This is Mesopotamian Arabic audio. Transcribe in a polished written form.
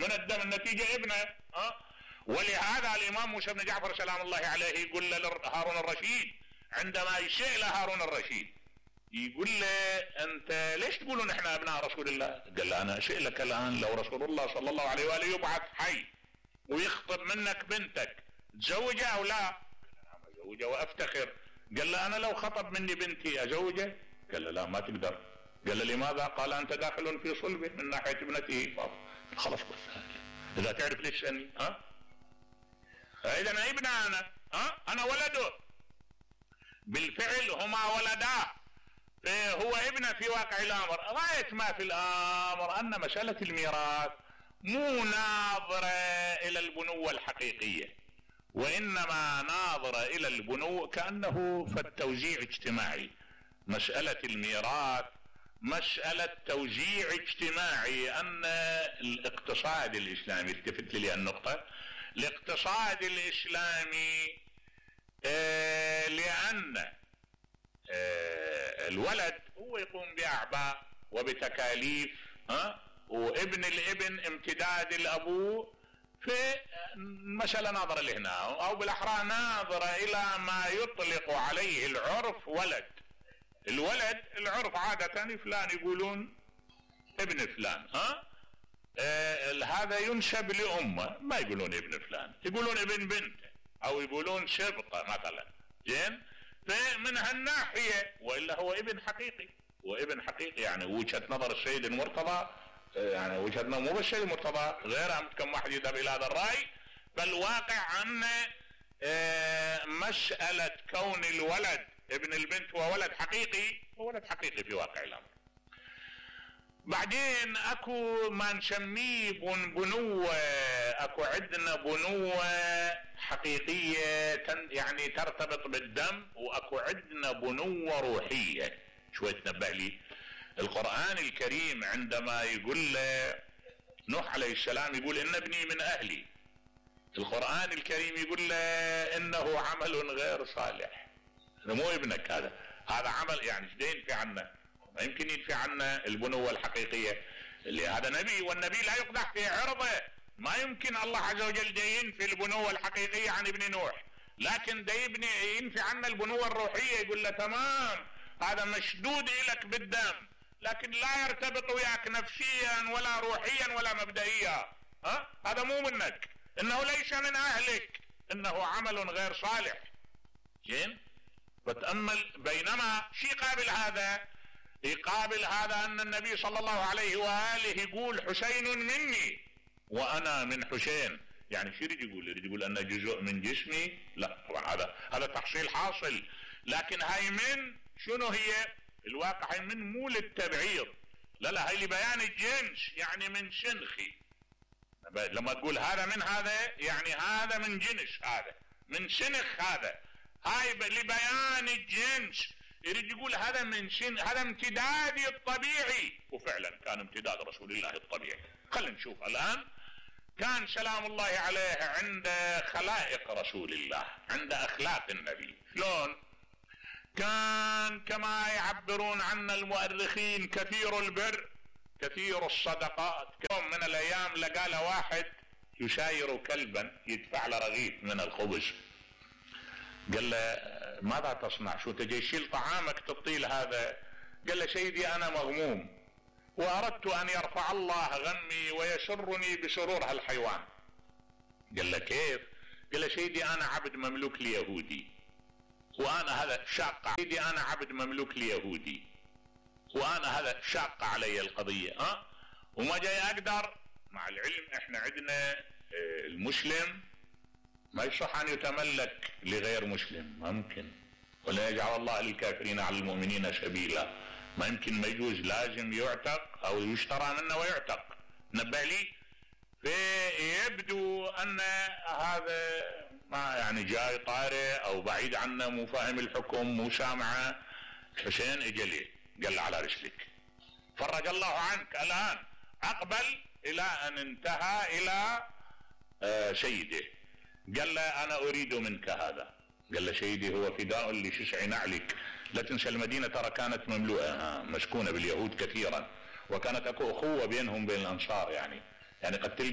من الدم النتيجة ابنه. ولهذا الامام موسى بن جعفر سلام الله عليه يقول لهارون الرشيد عندما يشيء لهارون الرشيد يقول له انت ليش تقولون احنا ابناء رسول الله؟ قال له انا اشيء لك الان لو رسول الله صلى الله عليه واله يبعث حي ويخطب منك بنتك تزوجها او لا؟ نعم ازوجها وافتخر. قال له انا لو خطب مني بنتي ازوجه؟ قال له لا ما تقدر. قال له لماذا؟ قال انت داخل في صلبه من ناحيه ابنته. خلاص بس اذا تعرف ليش تسالني اذا انا ابنه انا ولده بالفعل هما ولدا هو ابنه في واقع الامر. غايه ما في الامر ان مساله الميراث مو ناظره الى البنوه الحقيقيه وانما ناظره الى البنوه كانه فالتوزيع اجتماعي. مساله الميراث مساله توزيع اجتماعي. ان الاقتصاد الاسلامي التفت لي النقطه الاقتصاد الاسلامي لان الولد هو يقوم باعباء وبتكاليف وابن الابن امتداد الابوه في مسألة ناظرة لهنا او بالاحرى ناظرة الى ما يطلق عليه العرف ولد. الولد العرف عادة فلان يقولون ابن فلان هذا ينسب لامه ما يقولون ابن فلان يقولون ابن بنته او يقولون شبطه مثلا. زين فمن هالناحيه والا هو ابن حقيقي وابن حقيقي يعني وجهه نظر السيد المرتضى يعني وجهه نظر مو بالسيد المرتضى غيرها كم واحد يذهب الى هذا الراي. فالواقع ان مساله كون الولد ابن البنت هو ولد حقيقي هو ولد حقيقي في واقع الامر. بعدين اكو ما نسميه بنوة اكو عندنا بنوة حقيقية يعني ترتبط بالدم واكو عندنا بنوة روحية. شوي تنبه لي القرآن الكريم عندما يقول نوح عليه السلام يقول ان ابني من اهلي. القرآن الكريم يقول له انه عمل غير صالح. مو ابنك هذا عمل يعني ايش ينفي عنه؟ ما يمكن ينفي عنا البنوة الحقيقية اللي هذا نبي والنبي لا يقدح في عرضه. ما يمكن الله عز وجل ينفي البنوة الحقيقية عن ابن نوح لكن ينفي عنا البنوة الروحية. يقول له تمام هذا مشدود إلك بالدم لكن لا يرتبط وياك نفسيا ولا روحيا ولا مبدئيا. هذا مو منك انه ليس من اهلك انه عمل غير صالح. زين فتأمل بينما شيء يقابل هذا ان النبي صلى الله عليه وآله يقول حسين مني وانا من حسين. يعني شو يريد يقول انه جزء من جسمي؟ لا طبعا هذا تحصيل حاصل لكن هاي من شنو هي الواقع؟ هاي من مو للتبعيض لا هاي لبيان الجنس يعني من شنخي. لما تقول هذا من هذا يعني هذا من جنس هذا من شنخ هاي لبيان الجنس. يريد يقول هذا من هذا امتدادي الطبيعي وفعلا كان امتداد رسول الله الطبيعي. خلينا نشوف الان كان سلام الله عليه عند خلائق رسول الله عند اخلاق النبي شلون كان كما يعبرون عن المؤرخين كثير البر كثير الصدقات. يوم من الايام لقى له واحد يساير كلبا يدفع له رغيف من الخبز. قال له ماذا تصنع؟ شو تجي يشيل طعامك تعطيه هذا؟ قال له سيدي انا مغموم واردت ان يرفع الله غمي ويسرني بسرور هالحيوان. قال له كيف؟ قال له سيدي انا عبد مملوك ليهودي وانا هذا شاق. سيدي انا عبد مملوك ليهودي وانا هذا شاق علي القضية وما جاي اقدر. مع العلم احنا عندنا المسلم ما يصح ان يتملك لغير مسلم ما ممكن ولا يجعل الله للكافرين على المؤمنين سبيلا. ما يمكن ما يجوز لازم يعتق او يشترى منه ويعتق. نبه لي فيبدو ان هذا ما يعني جاي طارئ او بعيد عنه مو فاهم الحكم مو سامعه. حسين اجى ليه قال له على رسلك فرج الله عنك الان اقبل الى ان انتهى الى سيده. قال له انا اريد منك هذا. قال له سيدي هو فداء لشسع نعلك. لا تنسى المدينة ترى كانت مملوءة مسكونة باليهود كثيرا وكانت اكو اخوة بينهم بين الانصار يعني قد